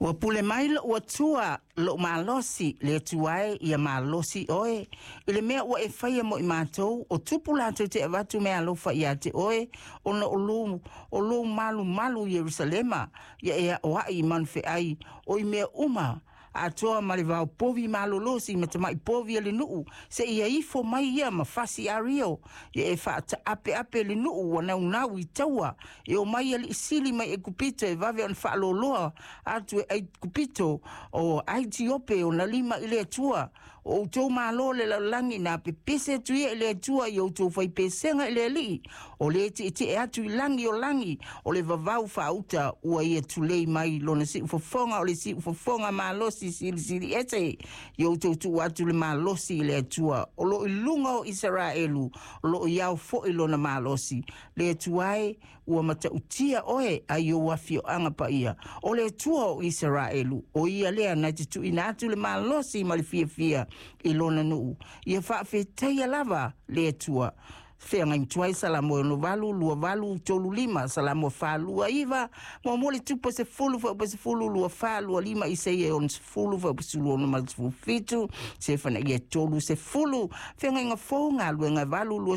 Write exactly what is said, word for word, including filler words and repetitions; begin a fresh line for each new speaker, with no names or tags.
Ua pule mai lo'u Atua lo'u malosi le Atua e ia malosi oe i le mea ua e faia mo i matou o tupu latou te avatu meaalofa ia te oe ona o lou o lou malumalu i Ierusalema ia e aoa'i i manufe'ai o i mea uma atoa ma le vaopovi malolosi ma tama'i povi a le nu'u se'ia ifo mai ia ma fasi ario ia e fa'ata'ape'ape le nu'u ua naunau i taua e o mai ali'i sili mai Ekupito e vave ona fa'aloloa atu e Aikupito o Aitiope ona lima i le Atua o outou malo le lalolagi na pepese atu ia i le Atua i outou faipesega i le Ali'i o le ti'eti'e atu i lagi o lagi o le vavau faauta ua ia tulei mai lona si'ufofoga o le si'ufofoga malosi silisili ese i outou tu'u atu le malosi i le Atua o lo'o i luga o Isaraelu o lo'o iao fo'i lona malosi le Atua e ua mata'utia oe ai ou afio'aga paia o le Atua o Isaraelu o ia lea na te tu'uina atu le malosi ma le fiafia i lona nu'u ia fa'afetaia lava le Atua feagai tuai Salamo e ono valu lua valu tolu lima Salamo fa lua iva muamua le tupa sefulu fuaiupu sefulu lua fa lua lima Isaia e ono sefulu fuaiupu sulu ono ma le sefulu fitu Sefanaia tolu sefulu Feagaiga Fou Galuega valu lua.